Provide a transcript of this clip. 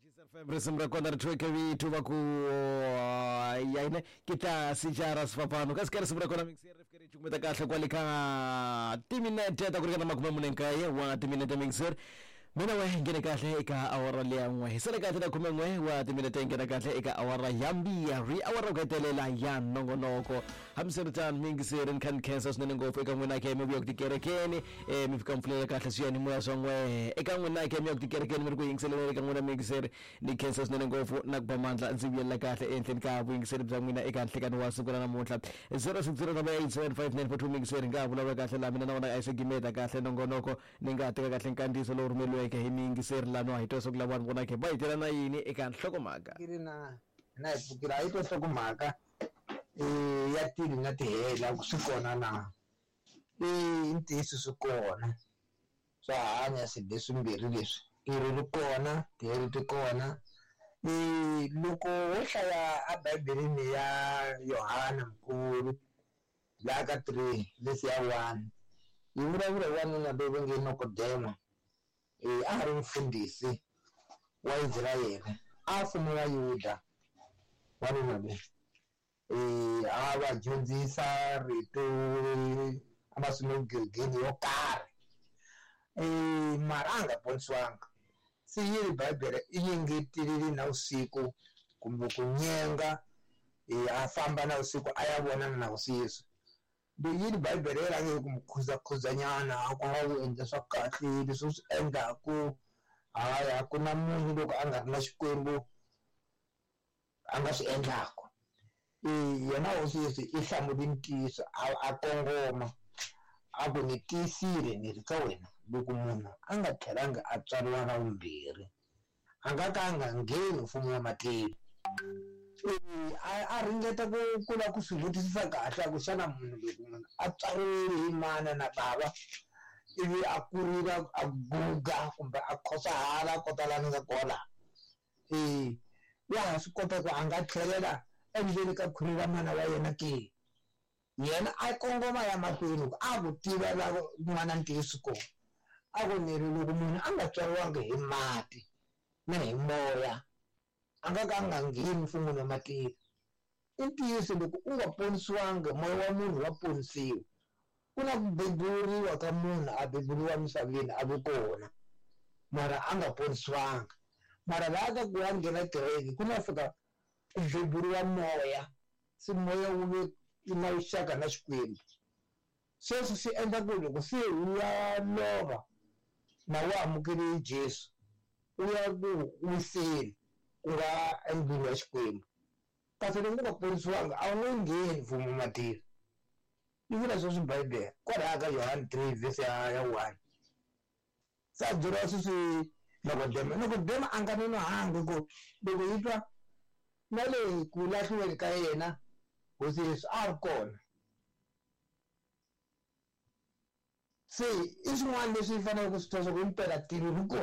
FM risimu ra kona ri thweke vito va ku yaine ke tla sejara sefapano ka seka risimu ra kona mixer ri fike ri cukumeta kahle kwale ka timinete ta ku ringana 49 wa timinete mixer mina we nghene kahle eka awara leya n'we hi sale kahle na 11 wa timinete nghena kahle eka awara ya mbirhi, awara ku hetelela ya nongonoko. Hambiswiritano miyingiseri ni kha ni khensa swinene ngopfu eka n'wina ke mi vuya ku tikerekeni, mi fika mi pfulela kahle swiyanimoya swa n'wehe. Eka n'wina ke mi ya ku tikerekeni mi ri ku yingiseleni, eka n'wina miyingiseri ni khensa swinene ngopfu na ku ba mandla ndzi vuyelela kahle ehenhleni ka vuyingiseri bya n'wina eka nhlekani wa siku ra namuntlha. 0608875942 miyingiseri nga ha vulavula kahle laha mina na wona a yi se gimeta kahle nongonoko. Ni nga ha teka kahle nkandziyiso lowu rhumeriweke hi miyingiseri laha no ha yi twa leswaku lavawani vona ke va hi tela na yini eka nhlokomhaka. Pfukile na hina hi pfukile a yi twa nhlokomhaka ya tilo na tihele a ku swi kona na? E i ntiyiso swi kona swa hanya swilo leswimbirhi leswi tilo ri kona tihele ti kona. E loko wo hlaya a bibeleni ya Yohana Mukulu laha ka 3 verse ya 1 yi vulavula hi wanuna loyi va nge Nikodema. E a ha ri mufundhisi wa Israyele, a fuma Vayuda wanuna loyi. E a va dyondzisa rito emasinagogeni yo karhi, e mara a nga ponisiwanga. Se yi ri Bibele i yengetelele na vusiku kumbe ku nyenga, e a famba na vusiku a ya vonana na Hosi Yesu. Leyi yini Bibele yi rhange hi ku n'wi khuzakhuzanyana a ku nga wu endla swa kahle leswi u swi endlaku, hayi a ku na munhu loko a nga ri na Xikwembu a nga swi endlaku. E yena Hosi Yesu i hlamule ntiyiso a kongoma a ku ni tiyisile ni ri ka wena loko munhu a nga tlhelanga a tswariwa ra vumbirhi a nga ka a nga ngheni mfumo wa matilo. A ringeta ku lava ku swi vutisisa kahle a ku xana munhu loko munhu a tswariwile hi mana na bava ivi a kurile a guga kumbe a khosahala a kota laha ni nga kona laha, e wa ha swi kota ku a nga tlhelela endzeni ka khwiri ra mana wa yena ke? Yena a kongoma ya mahlweni ku a ku tiva la n'wana ntiyiso kona, a ku ni ri loko munhu a nga tswariwangi hi mati na hi moya a nga ka a nga ngheni mfun'weni wa matilo. I ntiyiso loko u nga ponisiwangi moya wa munhu wa ponisiwa. Ku na ku beburiwa ka munhu a beburiwa misaveni a vi kona mara a nga ponisiwanga. Mara laha ka ku wa nghena kereke ku na fika ku beburiwa moya, se moya wu ve na vuxaka na Xikwembu. Sweswo swi endla ku loko se u ya lova na wu amukele Jesu u ya ku wiseni ku nga endlwini ya Xikwembu. Kasi loko u nga ponisiwanga a wu nge ngheni mfumo wa matilo. Yi vula sweswo Bibele kwalaha ka Yohane 3 verse ya 1. Se a byeriwa sweswi Nikodema. Nikodema a nga nonohangi ku loko yi twa na le ku lahliweni ka yena Hosi Yesu a ri kona. Se i swin'wana leswi hi faneleke ku swi twa swa ku himpela tilo ri kona.